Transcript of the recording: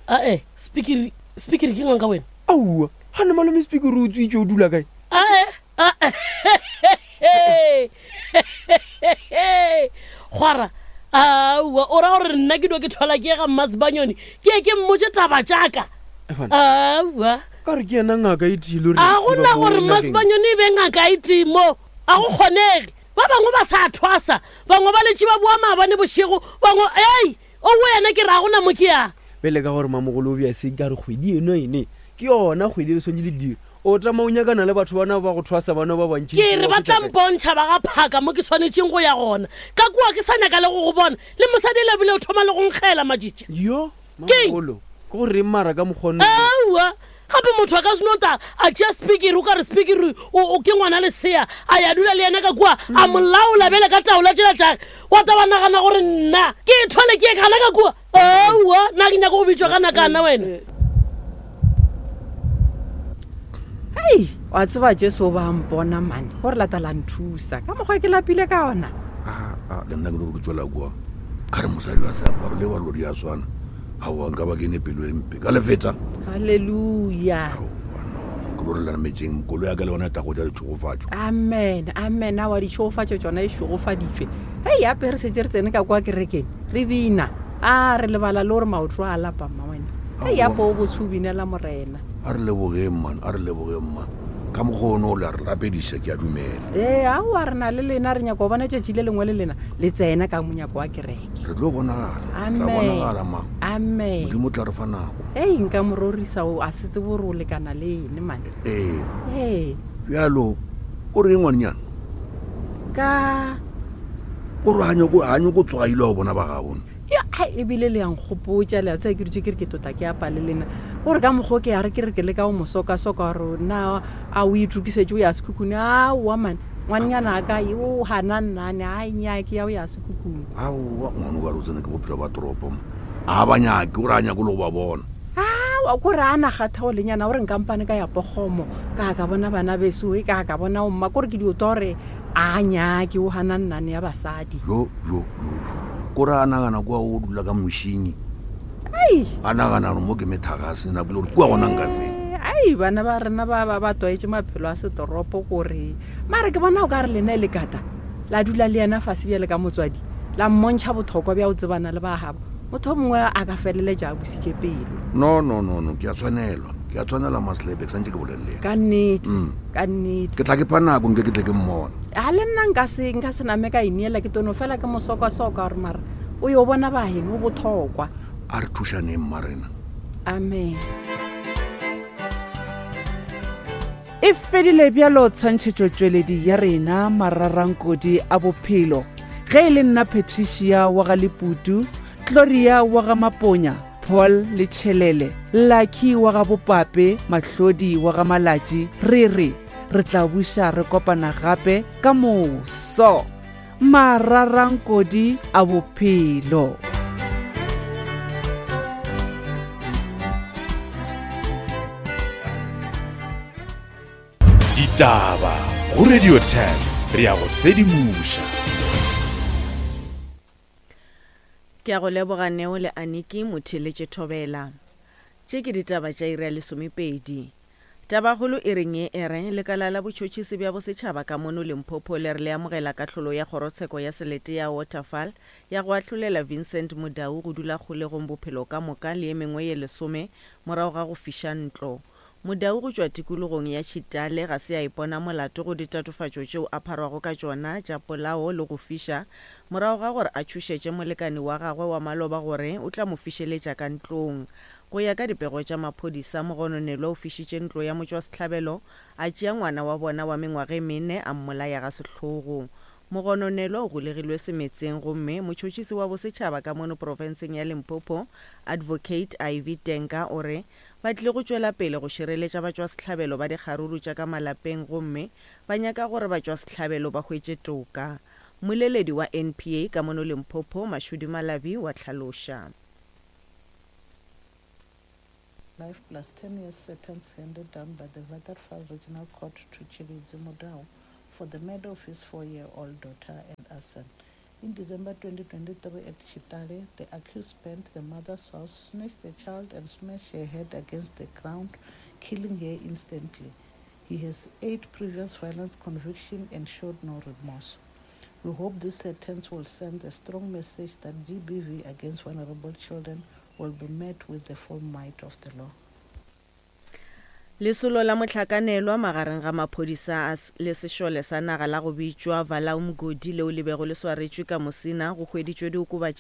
Ae, Spikiri, Spikiri ke nganga wena? Aowa, gane malome Spikiri o tswitše o dula kae? Ae, ae, Kgwara, aowa, o ra gore nna ke dio ke thwala ke ye ga Mmasebanyoni, ke ye ke mmotše taba tša ka? Aowa. Ka re ke yena ngaka e tee le re A go na gore Mmasebanyoni e be ngaka e tee mo, a go kgonege. Ba bangwe ba sa thwasa, bangwe ba letše ba boa maabane bošego, bangwe, ei! O wena ke ra gona mo ke yang. Bjale ka gore mamogolo o bea se ka re kgwedi eno ene ke yona kgwedi e le swanetše le dire. O tama o nyakana le batho bana ba go thwasa bana ba bantši. Ke re ba tla mpontšha ba ga phaka mo ke swanetšeng go ya gona. Ka kua ke sa nyaka le go go bona. Le mosadi ele bile o thoma le go nkgela matšitši. Yo, Keng? mamogolo, ke go reng mara ka mokgwa ono? Aowa, gape motho a ka se no ta a tšea spikiri o ka re spikiri o, o ke ngwana lesea a ya dula le yena ka kua a mo laola bjale ka taola tšela tšage wa ta wa nagana gore nna ke e thwale ke ye gana ka kua aowa na ke nyaka go bitšwa ka nakana wena hei wa tseba jesu o ba mpona mane gore lata la nthusa ka mokgwa ke lapile ka ona Ah, ah, le nna ke no ke tswela kua ka re mosadi wa seaparo le wa lodi ya swana aowa nka ba ke ne pelo e mpe ka lefeta halleluja aowa no ke lo re lametseng kolo ya ka le yona e tla go ja ditšhogofatšo amen amen awa ditšhogofatšo tšona e šogofaditšwe hei ape re setse re tsene ka kwa kerekeng re bina a re lebala le gore maoto a lapa mma wena hei ape o botse o binela morena a re lebogeng man a re lebogeng man ka mokgwa one o le a re rapediša ke a dumela ee aowa re na le lena re nyaka go bona tšatši le lengwe le lena le tsena ka monyako wa kereke Re tlo bonagala. Re tla Amen. bonagala, ma. Amen. Modimo o tla re fa nako. Ei, nka mo rorisa o a se tsebe gore o lekana le ene mane. Ee. Ee. Bjalo, o reng ngwanenyana? Ka O re ga nyako ga nyako tsoga ile go bona ba gabo. Ya, ai, ebile le yang gopotša le a tseba ke dutše ke re ke tota ke apa le lena gore ka mokgwa o ke ya re ke re ke leka go mo sokasoka gore na a o itokisetše o ya sekhukhune aowa mane ngwanenyana a ka o gana nnane a nyake ya o ya sekhukhune Aowa, ngwana o ka re o tsene ke bophelo ba toropo mo. A ba nyake, o re a nyake le go ba bona. Aowa, ko re a na kgathego lenyana gore nkampane ka ya pogomo ka ka bona bana beso e ka ka bona omma kore ke dio twa gore a nyake o gana nnane ya basadi. Jo, jo, jo, jo. Ko re a nagana kua o dula ka mošinyi. Ai. A nagana gore mo ke methagase nako le gore kua gona nka se. Ai, bana ba rena ba ba ba tlwaetše maphelo a setoropo kore mare ke bona o ka re lena e le kata. La dula le yena fase bjale ka motswadi, la mmontšha bothokwa bja go tsebana le ba gabo. Motho o mongwe a ka feleletša a busitše pelo. No, no, no, no, ke a tshwanelwa. Ke a tshwanelwa, Maslebe, ke santše ke bolele le yena. Ka nnete, Mm. ka nnete. Ke tla ke pha nako nke ke tle ke mmona. A le nna nka se, nka se name ka ineela, ke tono fela ke mo sokasoka gore mara o yo bona ba geno o bothokwa. A re thušaneng, mmarena. Amen. E fedile bjalo tshwantšhetšotšweledi ya rena Mararankodi a Bophelo. Ge e le nna Patricia wa ga Leputu, Gloria wa ga Maponya, Paul le Tšhelele, Lucky wa ga Bopape, Mahlodi wa ga Malatši, re re re tla buša re kopana gape ka moso. Mararankodi a Bophelo. Ditaba go Radio 10 re ya go sedimoša. Ke a go leboga Neo le Aniki Motheeletše Thobela. Tše ke ditaba tša iri ya lesomepedi. Tabakgolo e reng ye e re, Lekala la Botšhotšhisi bja Bosetšhaba ka mono Limpopo le re le amogela kahlolo ya Kgorotsheko ya Selete ya Waterval ya go ahlolela Vincent Mudau go dula kgolegong bophelo ka moka le ye mengwe ye lesome morago ga go fiša ntlo. Mudau go tšwa tikologong ya Tšhitale ga se a ipona molato go ditatofatšo tšeo a pharwago ka tšona tša polao le go fiša morago ga gore a tšhošetše molekani wa gagwe wa maloba gore o tla mo fišeletša ka ntlong. Go ya ka dipego tša maphodisa, mogononelwa o fišitše ntlo ya motšwasehlabelo, a tšea ngwana wa bona wa mengwaga e mene a mmolaya ga sehlogo. Mogononelwa o golegilwe semetseng gomme motšhotšhisi wa bosetšhaba ka mono profenseng ya Limpopo, Advocate Ivy Tenka o re ba tlile go tšwela pele go šireletša batšwasehlabelo ba dikgaruru tša ka malapeng gomme ba nyaka gore batšwasehlabelo ba hwetše toka. Mmoleledi wa NPA ka mono Limpopo, Mashudu Malabi wa hlaloša. Life plus 10 years sentence handed down by the Waterval Regional Court to Tshilidzi Mudau for the murder of his four-year-old daughter and arson. In December 2023 at Chitale, the accused burned the mother's house, snatched the child and smashed her head against the ground, killing her instantly. He has eight previous violence convictions and showed no remorse. We hope this sentence will send a strong message that GBV against vulnerable children will be met with the full might of the law. Lesolo la mohlakanelwa magareng ga maphodisa a le sešole sa naga la go bitšwa Valaumgodi leo le bego le swaretšwe ka Musina go hweditšwe diokobatši.